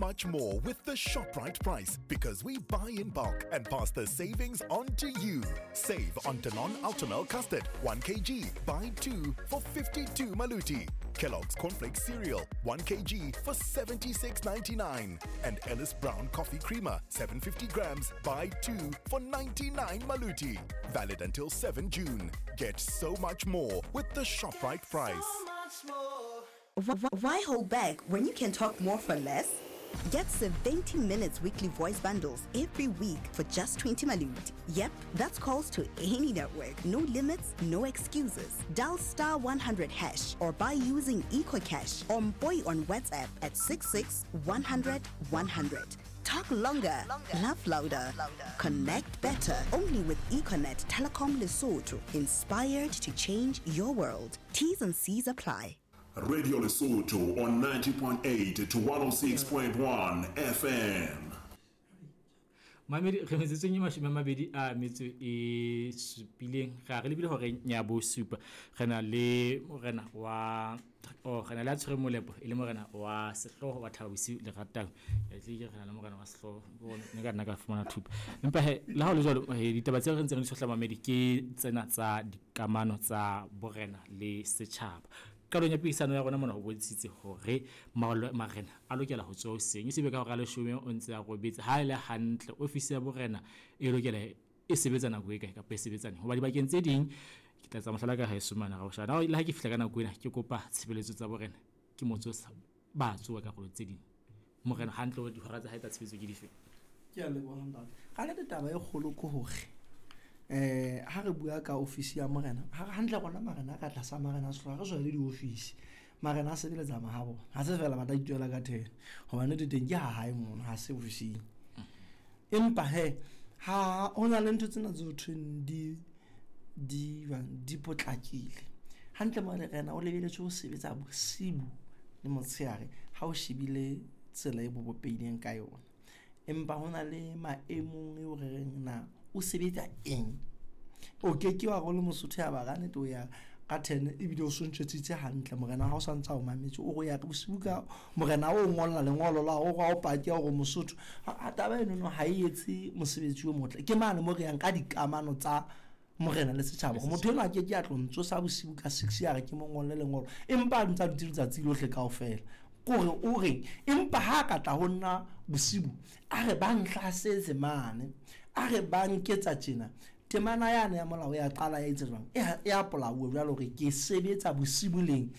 much more with the ShopRite price because we buy in bulk and pass the savings on to you. Save on Danone Ultimilk Custard 1 kg, buy 2 for 52 Maluti. Kellogg's Cornflakes Cereal 1 kg for 76.99 and Ellis Brown Coffee Creamer 750 grams, buy 2 for 99 Maluti. Valid until 7 June. Get so much more with the ShopRite price. Why hold back when you can talk more for less? Get 70 minutes weekly voice bundles every week for just 20 malut. Yep, that's calls to any network. No limits, no excuses. Dial star 100 hash or buy using EcoCash or Boy on WhatsApp at 66 100 100. Talk longer, laugh louder, connect better. Only with Econet Telecom Lesotho. Inspired to change your world. T's and C's apply. Radio Lesotho on 90.8 to 106.1 FM. Mamedi re metsotsong e 20 a metso e supileng ga re lebile gore ya bo supa re na le morena wa o re na le a tshwere molepo e le morena wa sehlooho wa Thaba Bosiu le ratang ya tle ke re na le morena wa sehlooho ne ka nna ka fumana thupa empa he le ha o le jwalo ditaba tseo re ntseng re di tshohla mamedi ke tsena tsa dikamano tsa borena le setjhaba. Qalong ya puisano ya rona mona ho bontshitse hore marena a lokela ho tsoha hoseng e se be ka hora leshome o ntse a robetse. Ha e le hantle ofisi ya borena e lokela e sebetsa nako e kae kapa e sebetsa neng? Hoba dibakeng tse ding ke tla etsa mohlala ka haeso mane Raoshana. Le ha ke fihla ka nako ena ke kopa tshebeletso tsa borena ke motso ba tsoha karolo tse ding. Morena hantle hore dihora tsa hae tsa tshebetso ke dife? Ke a leboha ntate. Ka nnete taba e kgolo ke hore ha re bua ka ofisi ya morena hantle rona marena a ka tlasa marena a sehlooho ha re le diofisi. Marena a sebeletsa mahabo ha se fela ba tla ituela ka thena hobane nnete teng ke ha hae mono ha se ofising. Empa he ha ho na le ntho tsena tse ho thweng di di jwang di potlakile. Hantle morena o lebeletswe ho sebetsa bosibu le motshehare ha o shebile tsela e bo bopehileng ka yona. Empa ho na le maemong eo re reng na o sebetsa eng. O ke ke wa re o le Mosotho ya ba ka nnete o ya ka 10 ebile o so ntjwetsitse hantle morena ha o santse a o mametse o re ya bosiu ka morena o ngolla lengolo la o o paki ya hore Mosotho a taba eno ha e etse mosebetsi o motle. Ke mane mo re yang ka dikamano tsa morena le setjhaba hore motho enwa a ke ke a tlo ntsosa bosiu ka 6 ya re ke mo ngolle lengolo empa a ntse a dutse letsatsi lohle kaofela. Kore o reng empa ha ka tla ho nna bosibu a re ba nhlasetse mane a re ba nketsa tjena temana yane ya molao ya qala ya etsa jwang e ya polauwe jwalo hore ke sebetsa bosibu leng.